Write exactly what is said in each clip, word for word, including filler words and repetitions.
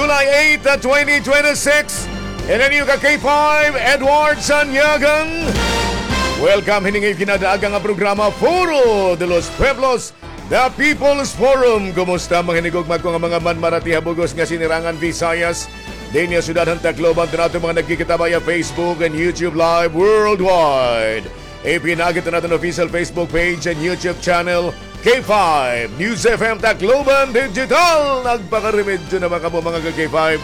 July eight, twenty twenty-six. Ini an iyo ka K five, Edward Sanyagan. Welcome hining iyo kinadaagan nga programa, Foro de los Pueblos, The People's Forum. Kumusta, mga hinigugma ko nga mga manmarati ha bug-os nga sinirangan Visayas, dinhi ha syudad han Tacloban, to naton mga nagkikita via Facebook and YouTube Live worldwide. Ipinagi to naton official Facebook page and YouTube channel, K five News F M Tacloban Digital. Nagpakaremedyo na ba kamo, mga ka-K five?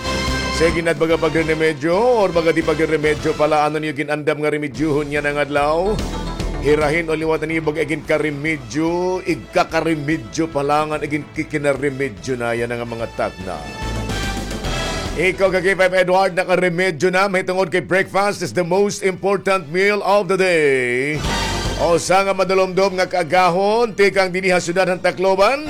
Sige na, baga pagre-remedyo or baga di pagre-remedyo pala, ano niyo gin-andam nga remedyohon yana nga adlaw? Hirahin o liwatan niyo baga iginkaremedyo, igkakaremedyo pala ngan iginkikinaremedyo na yana nga mga takna. Ikaw, ka K five Edward, nakaremedyo na, mahitungod kay breakfast is the most important meal of the day. Usa nga madulomdom nga kaagahon tikang dinhi ha syudad han Tacloban.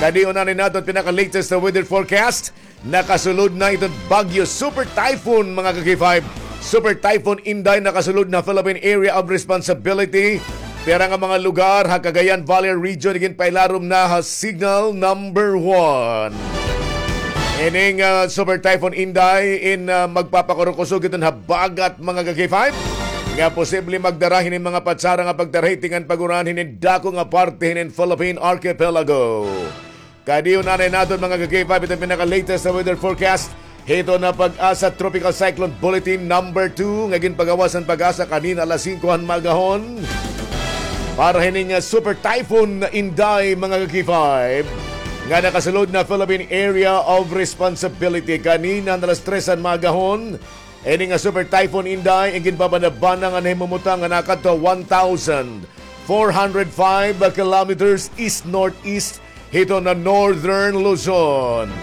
Kadi una ni naton pinaka-latest na weather forecast. Nakasulod na iton Bagyo Super Typhoon, mga ka-K five. Super Typhoon Inday nakasulod na Philippine Area of Responsibility. Pira nga mga lugar ha Cagayan Valley Region iginpailarom na ha signal number one. Ining, ah, Super Typhoon Inday in, ah, magpapakurukusog iton habagat, mga ka-K five, nga posible magdara hinin mga patsara nga pagtarahi tikang pag-uran hinin dako nga parte hinin Philippine Archipelago. Kadi una ni naton, mga ka-K five, iton pinaka-latest na weather forecast hiton PAGASA Tropical Cyclone Bulletin number two nga ginpagawas han PAGASA kanina alas singko han maagahon. Para hining, ah, Super Typhoon Inday, mga ka-K five, nga nakasulod na Philippine Area of Responsibility kanina alas tres han maagahon. Ini nga Super Typhoon Inday, ang ginbabanabana nga nahimumutang nga nakadto one thousand four hundred five kilometers east-northeast hiton Northern Luzon.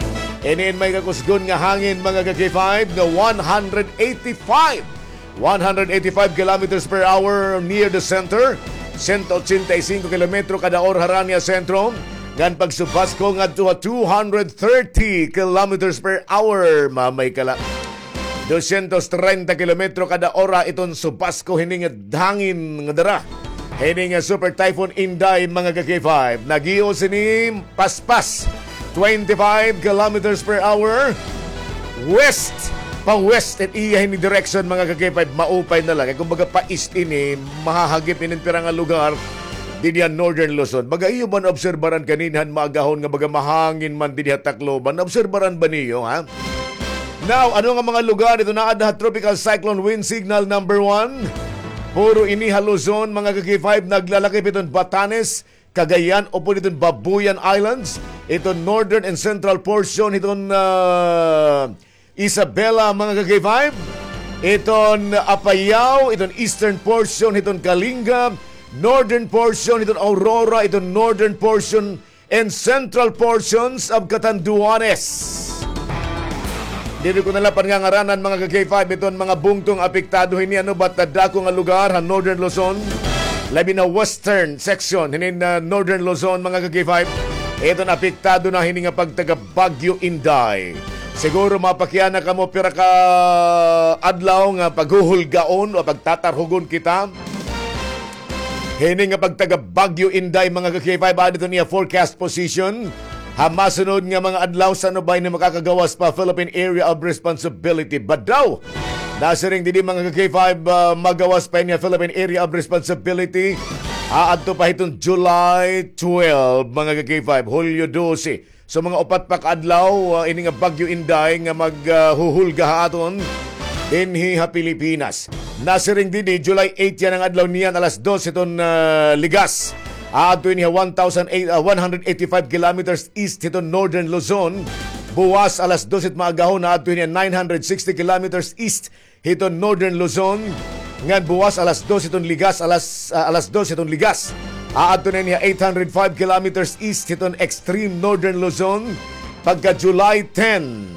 Ini in may kakusgon nga hangin, mga ka-K five, nga one hundred eighty-five, one hundred eighty-five kilometers per hour near the center, sento ochenta y cinco kilometro kada ora harani ha sentro, ngan pagsubasko ngadto ha two hundred thirty kilometers per hour, mamay kala. Dosyentos trenta kilometro kada ora iton subasko hini nga hangin nga dara hini nga Super Typhoon Inday, mga ka-K five. Nag-iyo sini paspas, twenty-five kilometers per hour. West, pa-west it iya hini direction, mga ka-K five. Maupay na la kay kumbaga pa-east ini, mahahagip ini pira nga lugar dinhi ha Northern Luzon. Baga iyo ba naobserbaran kanina han maagahon nga baga mahangin man dinhi ha Tacloban? Naobserbaran ba niyo, ha? Now, ano nga mga lugar iton aada ha Tropical Cyclone Wind Signal number one? Puro ini ha Luzon, mga ka-K five, naglalakip iton Batanes, Cagayan, upod iton Babuyan Islands, iton northern and central portion hiton, ah, Isabela, mga ka-K five, iton Apayao, iton eastern portion hiton Kalinga, northern portion hiton Aurora, iton northern portion and central portions of Catanduanes. Diri ko na la pangangaranan, mga ka-K five, iton mga bungto nga apektado hini, ano, but dako nga lugar ha Northern Luzon, labi na western section hinin, ah, Northern Luzon, mga ka-K five, iton apektado na hini nga pagtaga Bagyo Inday. Siguro mapakiana kamo pira ka adlaw nga paghuhulgaon o pagtatarhugon kita hini nga pagtaga Bagyo Inday, mga ka-K five, aada iton iya forecast position ha masunod nga mga adlaw, san-o ba ini makakagawas pa Philippine Area of Responsibility. Badaw, nasiring didi, mga ka-K five, ah, magawas pa ini ha Philippine Area of Responsibility aadto pa hiton July twelve, mga ka-K five, Hulyo dose. So, mga upat pa ka adlaw, ah, ini nga Bagyo Inday nga mag, ah, huhulga ha aton dinhi ha Pilipinas. Nasiring dinhi, July eight yana nga adlaw niyan, alas dos hiton, ah, ligas. Aadto ini ha one thousand eight, ah, one hundred eighty-five kilometers east hiton Northern Luzon. Buwas alas dos hit maagahon, aadto ini ha nine hundred sixty kilometers east hiton Northern Luzon, ngan buwas alas dos hiton ligas, alas, ah, alas dos hiton ligas, aadto na ini ha eight hundred five kilometers east hiton extreme Northern Luzon. Pagka July ten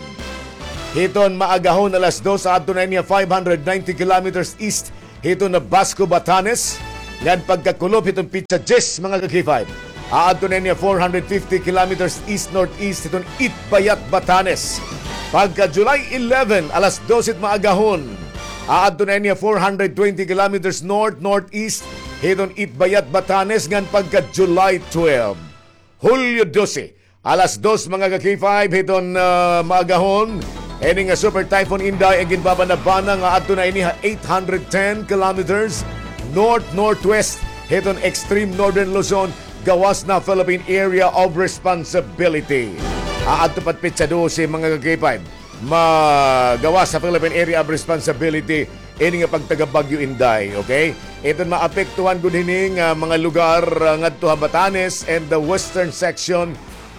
hiton maagahon, alas dos, aadto na ini ha five hundred ninety kilometers east hiton Basco, Batanes, ngan pagkakulop hiton pitsa diyes, mga ka-K five, aadto na ini ha four hundred fifty kilometers east-northeast hiton Itbayat, Batanes. Pagka July eleven, alas dos hit maagahon, aadto na ini ha four hundred twenty kilometers north-northeast hiton Itbayat, Batanes, ngan pagka July twelve, Hulyo dose, Alas dos, mga ka-K five, hiton, ah, maagahon. Ini nga Super Typhoon Inday, an ginbabanabana nga adto na ini ha eight hundred ten kilometers north-northwest hiton extreme northern Luzon, gawas na Philippine Area of Responsibility. Aadto pa petsa dose, mga ka-K five, magawas sa Philippine Area of Responsibility ini nga pagtaga Bagyo Inday, okay? Iton maapektuhan gud hini nga mga lugar, ah, ngadto ha Batanes and the western section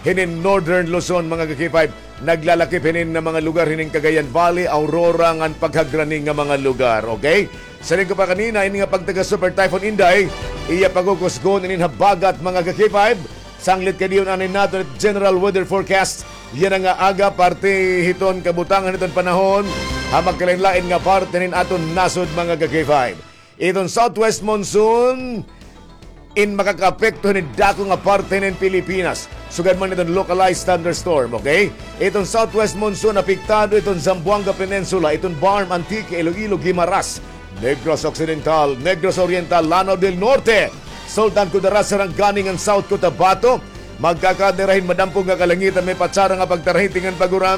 hinin northern Luzon, mga ka-K five. Naglalakip hinin nga mga lugar hinin Cagayan Valley, Aurora, ngan paghagrani nga mga lugar, okay? Siring ko pa kanina, ini nga pagtaga Super Typhoon Inday, iya pagukusgon inin habagat, mga ka-K five. Sanglit kay diyon anay naton General Weather Forecast yana nga aga, parte hiton kabutangan hiton panahon ha magkalain-lain nga parte nin aton nasod, mga ka-K five. Iton southwest monsoon in makakaapekto hinin dako nga parte nin Pilipinas, sugad man iton localized thunderstorm, okay? Iton southwest monsoon apektado iton Zamboanga Peninsula, iton BARMM, Antique, Iloilo, Guimaras, Negros Occidental, Negros Oriental, Lanao del Norte, Sultan Kudarat, Sarangani ngan South Cotabato. Magkakaada hira hin madampog nga kalangitan, may patsara nga pagtarahiting ngan pag-uran.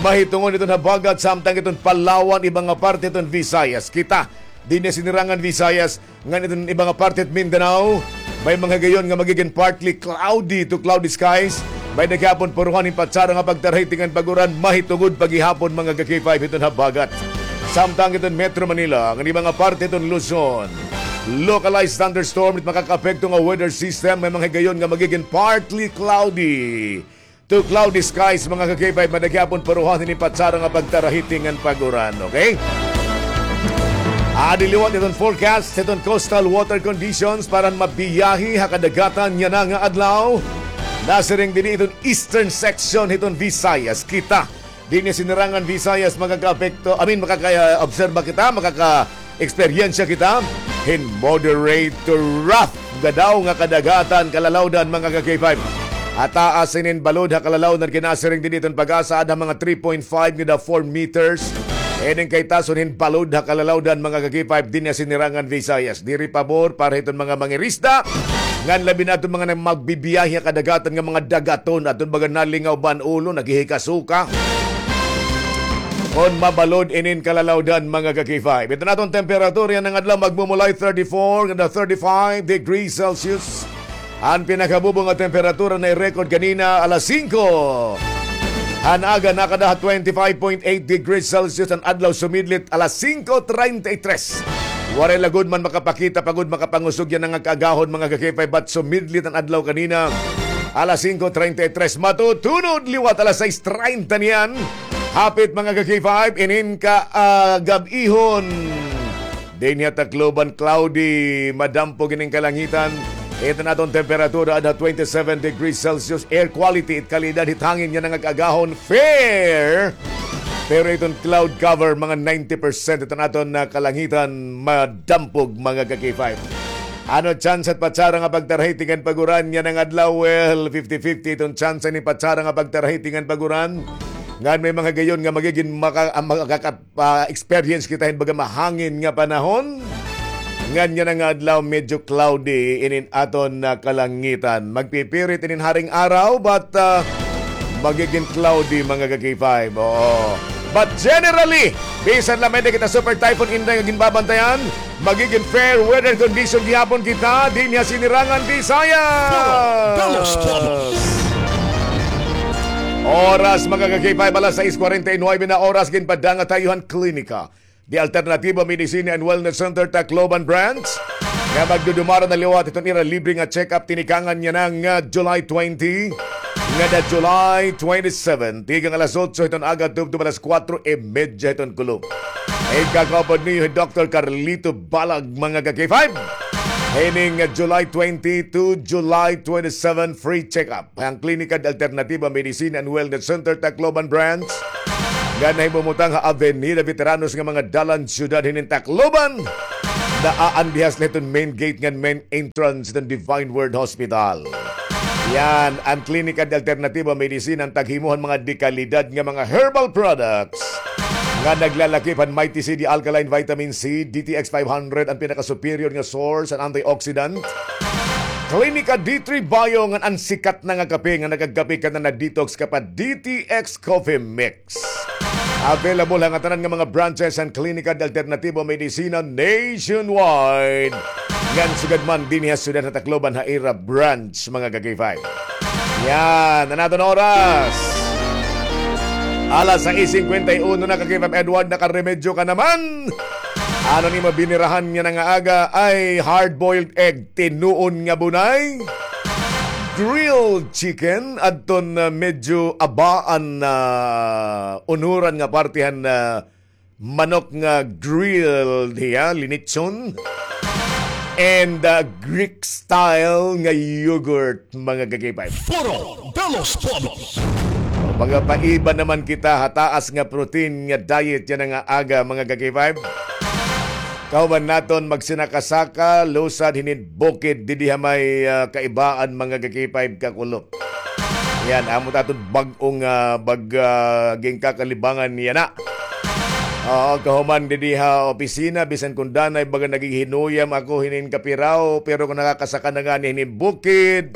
Mahitungod iton habagat, samtang iton Palawan, iba nga parte iton Visayas. Kita, dinhi ha Sinirangan Visayas, ngan iton iba nga parte hit Mindanao, may mga higayon nga magigin partly cloudy to cloudy skies. May-ada gihapon puruhan hin patsara nga pagtarahiting ngan pag-uran, mahitungod pa gihapon, mga ka-K five, hiton habagat. Samtang iton Metro Manila, ngan iba nga parte hiton Luzon, localized thunderstorm it makakaapekto nga weather system, may mga higayon nga magigin partly cloudy to cloudy skies, mga ka-K five, may-ada gihapon puruhan hini patsara nga pagtarahiting ngan pag-uran, okay? Adi liwat iton forecast hiton coastal water conditions para mabiyahe ha kadagatan yana nga adlaw. Nasiring dinhi iton eastern section hiton Visayas. Kita, dinhi ha Sinirangan Visayas, makakaapekto, I mean, makaka-obserba kita, makaka-eksperyensya kita hin moderate to rough nga daw nga kadagatan, kalalawdan, mga ka-K five. Ataas hinin balod ha kalalawdan, kay nasiring dinhi iton PAGASA, ada mga three point five ngada four meters. Ining kay tason hin balod ha kalalawdan, mga ka-K five, dinhi ha Sinirangan Visayas. Diri pabor para hiton mga mangirisda, ngan labi na adton mga nagbibiyahe ha kadagatan nga mga dagaton, adton baga nalingaw ban ulo, naghihikasuka. Kon mabalod inin kalalawdan, mga ka-K five. Iton aton temperatura yana nga adlaw, magmumulay thirty-four ngada thirty-five degrees Celsius. An pinakabubo nga temperatura na-record kanina alas singko han aga, nakada ha twenty-five point eight degrees Celsius. An adlaw sumidlit alas singko treinta y tres. Waray la gud man makapakita pa gud, makapangusog yana nga kaagahon, mga ka-K five, but sumidlit an adlaw kanina alas singko treinta y tres. Matutunod liwat alas sais treinta niyan. Hapit, mga ka-K five, inin ka, ah, gab-ihon. Dinhi ha Tacloban, cloudy, madampog ining kalangitan. Iton aton temperatura ada twenty-seven degrees Celsius. Air quality, it kalidad hit hangin yana nga kaagahon, fair. Pero iton cloud cover, mga ninety percent iton aton nga kalangitan, madampog, mga ka-K five. Ano tsansa hit patsara nga pagtarahiting ngan pag-uran yana nga adlaw? Well, fifty fifty iton tsansa hit patsara nga pagtarahiting ngan pag-uran. Ngan may mga higayon nga magigin maka-, ah, makaka-, ah, experience kita hin baga mahangin nga panahon. Ngan yana nga adlaw, medyo cloudy inin aton nga kalangitan. Magpipirit inin haring araw, but, ah, magigin cloudy, mga ka-K five. Oo. But generally, bisan la may-ada kita Super Typhoon Inday nga ginbabantayan, magigin fair weather condition gihapon kita dinhi ha Sinirangan Visayas. Doubles, doubles. Oras, mga ka-K five, alas sais kwarenta y nuebe na oras, ginpadanga tayo han Klinika de Alternativa Medicina and Wellness Center, Tacloban Branch, nga magdudumara na liwat hiton ira libre nga check-up tinikangan yana nga July twenty ngada July twenty-seven, tikang alas otso hiton aga tubtob alas kuwatro y medya hiton kulop. Ikakaupod niyo hi Doktor Carlito Balag, mga ka-K five. Hining July twenty to July twenty-seven, free check-up. An Klinika de Alternativa Medicina and Wellness Center, Tacloban Branch, nga nahimumutang ha Avenida Veteranos nga mga dalan, siyudad hinin Tacloban. Naandihas la hiton main gate ngan main entrance hiton Divine Word Hospital. Yan, an Klinika de Alternativa Medicina, an taghimo han mga dekalidad nga mga herbal products nga naglalakip han Mighty C D Alkaline Vitamin C, D T X five hundred, an pinaka-superior nga source han antioxidant. Klinika D three Bio ngan an sikat na nga kape nga nagagapi ka na na-detox ka pa D T X Coffee Mix. Available ha ngatanan nga mga branches han Klinika de Alternativo Medicina nationwide. Ngan sugad man dinhi ha siyudad ha Tacloban ha ira branch, mga ka-K five. Yan, an aton oras. Alas sais singkwenta y uno na, ka-K five Edward, nakaremedyo ka naman. Ano an imo binirahan yana nga aga? Ay, hard-boiled egg, tinuon nga bunay, grilled chicken, adton, ah, medyo abaan na unuran nga parte han, ah, manok nga grilled hiya, linitson, and, ah, Greek style nga yogurt, mga ka-K five. Foro de los Pueblos. Magapaiba naman kita ha taas nga protein nga diet yana nga aga, mga ka-K five. Kauban naton magsinakasaka, lusad hinin bukid didi ha may, ah, kaibaan, mga ka-K five, kakulop. Yan, amo ta aton bag-ong, ah, bag-, ah, ginkakalibangan yana. Oo, kahuman didi ha opisina, bisan kon danay, baga naghihinuyam ako hinin kapiraw, pero kon nakakasaka na ngani hinin bukid,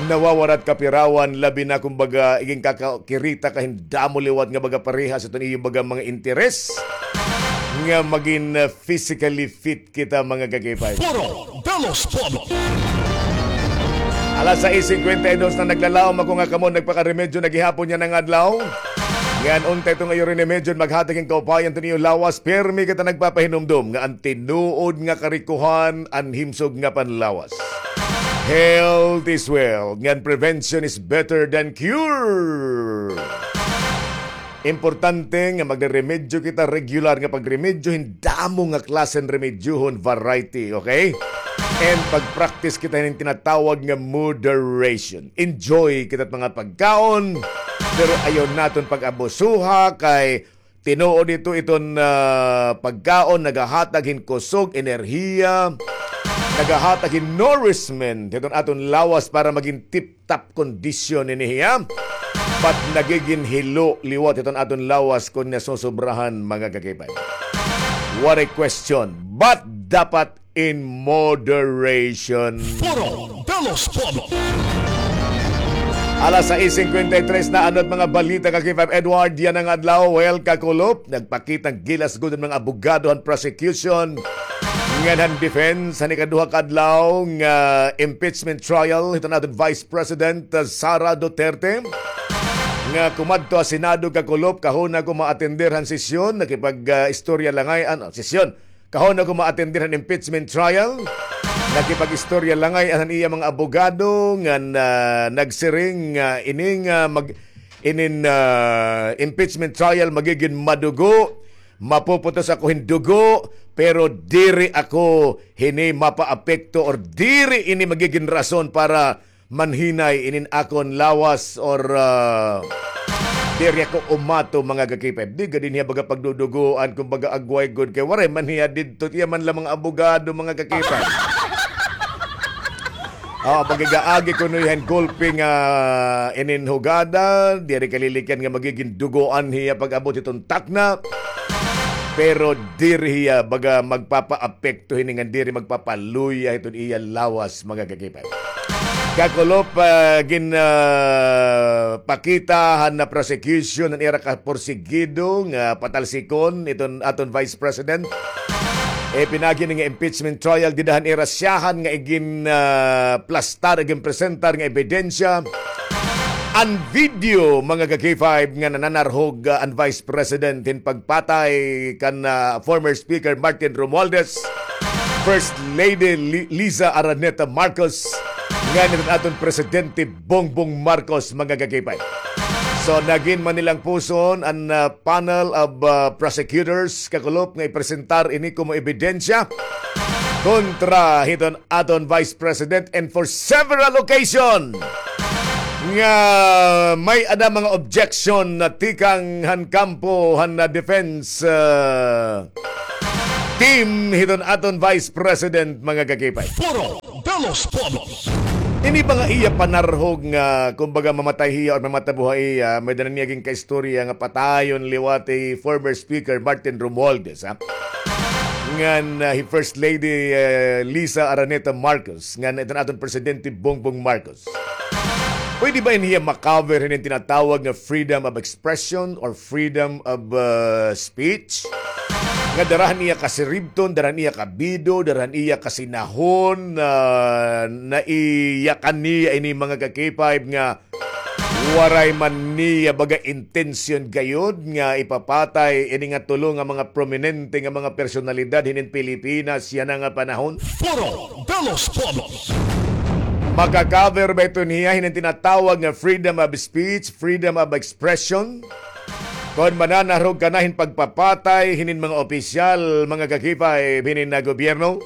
nawawarat kapirawan, labi na kumbaga, iginkakakirita ka hin damo liwat nga baga parehas iton iyo baga mga interes nga magin, ah, physically fit kita, mga ka-K five. Foro de los Pueblos. Alas sais singkwenta y dos na, naglalaom ako nga kamo nagpakaremedyo na gihapon yana nga adlaw. Ngan unta iton iyo remedyo maghatag hin kaupayan iton iyo lawas, pirmi kita nagpapahinumdom nga an tinuod nga karikohan an himsog nga panlawas. Health is wealth, ngan prevention is better than cure. Importante nga magreremedyo kita, regular nga pagremedyo, hin damo nga klase hin remedyohon, variety, okay? And pag-practice kita hin tinatawag nga moderation. Enjoy kita mga pagkaon, pero ayaw naton pag-abusuha kay tinuod ito iton, ah, pagkaon nagahatag hin kusog, enerhiya, nagahatag hin nourishment hiton aton lawas para magin tip top kondisyon ini hiya. But nagigin hilo liwat iton aton lawas kon nasusobrahan, mga ka-K five. What a question. But dapat in moderation. Foro de los Pueblos. Alas sais singkwenta y tres na, ano it mga balita, ka-K five Edward, yana nga adlaw? Well, kakulop, nagpakita hin gilas gud an mga abogado han prosecution ngan han defense han ikaduha ka adlaw nga impeachment trial hiton aton Vice President, uh, Sara Duterte, nga kumadto ha Senado, kakulop, kahuna ko maatender han sesyon, nakipag, uh, istorya la ngay-an, ano, sesyon. Kahuna ko maatender han impeachment trial, nakipag-istorya la ngay-an han iya mga abogado ngan, uh, nagsiring nga ini nga mag-, inin, uh, impeachment trial magigin madugo. Mapuputos ako hin dugo, pero diri ako hini mapaapekto or diri ini magigin rason para manhinay inin akon lawas or, ah, diri ako umato, mga ka-K five. Di gad ini hiya baga pagdudugoan, kumbaga agway gud kay waray man hiya didto, iya man la mga abogado, mga ka-K five. Ah, pag-igaagi kuno hiya hin gulpi nga inin hugada, diri kalilikyan nga magigin dugoan hiya pag-abot hiton takna. Pero diri hiya baga magpapaapekto hini ngan diri magpapaluya hiton iya lawas, mga ka-K five. Kakulop, ah, gin, ah, pakita han prosecution an ira kaporsigido nga patalsikon iton aton Vice President. Eh, pinaagi ini nga impeachment trial, dida han ira siyahan nga igin, ah, plastar, igin presentar nga ebidensya an video, mga ka-K five, nga nananarhog, ah, an Vice President hin pagpatay kan, ah, former Speaker Martin Romualdez, First Lady Li-, Liza Araneta Marcos, ngan hiton aton Presidente Bongbong Marcos, mga ka-K five. So, nagin manilangpuson an, ah, panel of, ah, prosecutors, kakulop, nga ipresentar ini komo ebidensya kontra hiton aton Vice President, and for several occasion nga may-ada mga objection na tikang han kampo han, ah, defense, ah, team hiton aton Vice President, mga ka-K five. Foro de los Pueblos. Ini ba nga iya panarhog nga, kumbaga, mamatay hiya or mamatabuhay hiya, may-ada na niya ginkaistorya nga patayon liwat hi former Speaker Martin Romualdez, ha? ngan, ah, hi First Lady, ah, Liza Araneta Marcos, ngan iton aton Presidente Bongbong Marcos. Pwede ba ini hiya ma-cover hinin tinatawag nga freedom of expression or freedom of, ah, speech? Nga dara han iya kasiribton, dara han iya kabido, dara han iya kasinahon, ah, naiyakan niya ini mga ka-K five nga waray man niya baga intensyon gayod nga ipapatay ini nga tulo nga mga prominente nga mga personalidad hinin Pilipinas yana nga panahon? Foro de los Pueblos. Maka-cover ba ito niya hinin tinatawag nga freedom of speech, freedom of expression? Kon mananarog ka na hin pagpapatay hinin mga opisyal, mga ka-K five, hinin na gobyerno?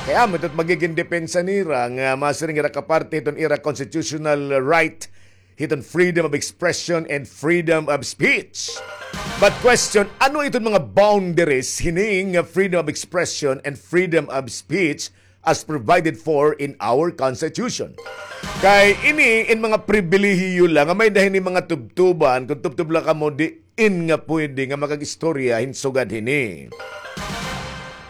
Kay amo ito magigin depensa nira nga masiring ira kaparte hiton ira constitutional right hiton freedom of expression and freedom of speech. But question, ano iton mga boundaries hini nga freedom of expression and freedom of speech as provided for in our Constitution? Kay ini in mga pribilehiyo la nga may-ada hini mga tubtuban, kon tubtob la kamo, di in nga pwede nga makag-istorya hin sugad hini.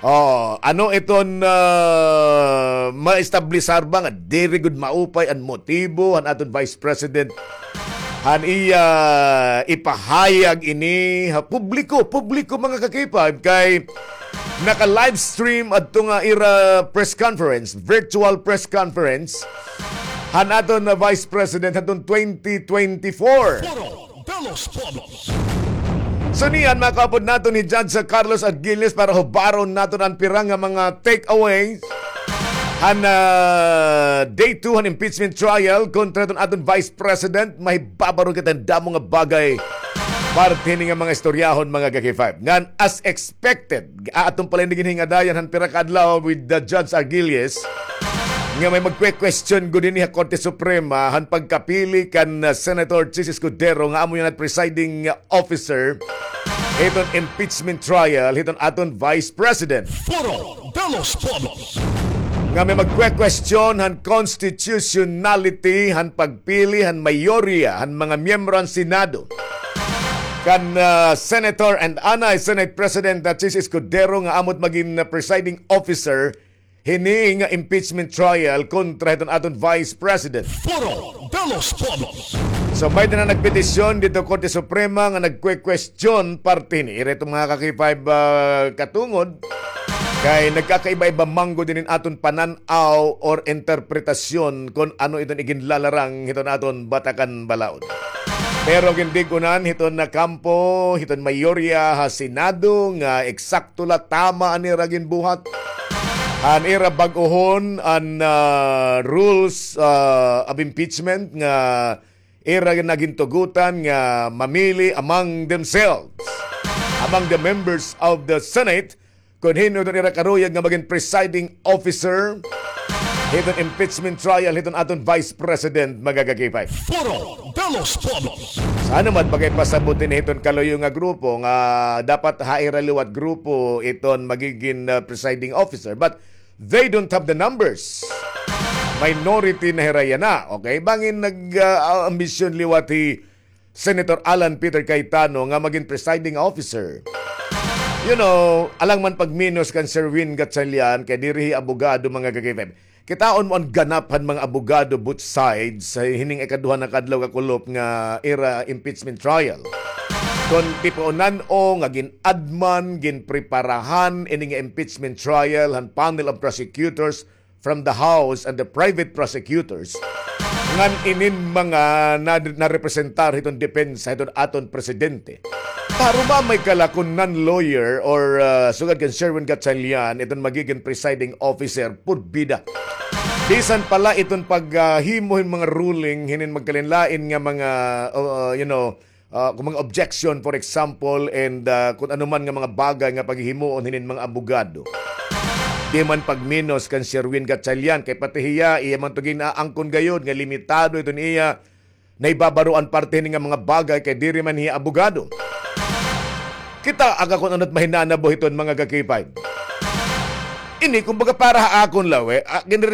Oh, ano iton, ah, maestablisar ba nga diri gud maupay an motibo han aton Vice President han iya ipahayag ini ha publiko, publiko, mga ka-K five, kay naka-livestream adto nga ira press conference, virtual press conference han aton na Vice President hadton twenty twenty-four. Foro de los Pueblos. So niyan, makaupod naton hi Judge Carlos Aguiles para hubaron naton an pira nga mga takeaways han, ah, day two han impeachment trial kontra hiton aton Vice President. Mahibabaro kita hin damo nga bagay parte hini nga mga istoryahon, mga ka-K five. Ngan as expected, aton pa la ini ginhingadayan han pira ka adlaw with the Judge Aguiles nga may magkwe-question gud ini ha Korte Suprema han pagkapili kan, ah, Senator Chiz Escudero nga amo yana presiding officer hiton impeachment trial hiton aton Vice President. Foro de los Pueblos. Nga may magkwe-question han constitutionality han pagpili han mayorya han mga miyembro han Senado kan, ah, Senator and anay Senate President, ah, Chiz Escudero nga amo it magin, ah, presiding officer hini nga impeachment trial kontra hiton aton Vice President. Foro de los Pueblos. So, may-ada na nagpetisyon didto Korte Suprema nga nagkwe-question parte hini. Ira iton mga ka-K five, ah, katungod kay nagkakaiba-iba man gud hinin aton panan-aw or interpretasyon kon ano iton iginlalarang hiton aton batakan balaod. Pero gindig-unan hiton na kampo hiton mayorya ha Senado nga eksakto la, tama an ira ginbuhat. An ira bag-ohon an, ah, rules, ah, of impeachment nga ira na gintugutan nga mamili among themselves, among the members of the Senate, kon hin-o iton ira karuyag nga magin presiding officer hiton impeachment trial hiton aton Vice President, mga ka-K five. Foro de los Pueblos. Sana man pakipasabot ini hiton kaluyo nga grupo nga dapat ha ira liwat grupo iton magigin, ah, presiding officer. But they don't have the numbers. Minority na hira yana, okay? Bangin nag, ah, ambisyon liwat hi Senator Alan Peter Cayetano nga magin presiding officer. You know, alang man pagminos kan Sherwin Gatchalian, kay diri hi abogado, mga ka-K five. Kitaon mo an ganap han mga abogado, both sides, sa hining ikaduha na kadlaw kakulop nga ira impeachment trial. Kon tipunan-o nga gin-adman, ginpreparahan ini nga impeachment trial han panel of prosecutors from the House and the private prosecutors ngan inin mga na, narepresentar hiton depensa hiton aton presidente. Tarumamay ka la kon non-lawyer or, ah, sugad kan Sherwin Gatchalian, iton magigin presiding officer, purbida. Bisan pa la iton paghimo hin mga ruling hinin magkalain-lain nga mga, ah, you know, ah, kon mga objection, for example, and, ah, kon ano man nga mga bagay nga paghihimuon hinin mga abogado. Di man pagminos kan Sherwin Gatchalian, kay pati hiya, iya man to gin-aangkon gayod nga limitado iton iya naibabaroan parte hini nga mga bagay kay diri man hiya abogado. Kita aga kon ano it mahinanabo hiton, mga ka-K five. Ini, kumbaga, para ha akon la, we, ah, ginre-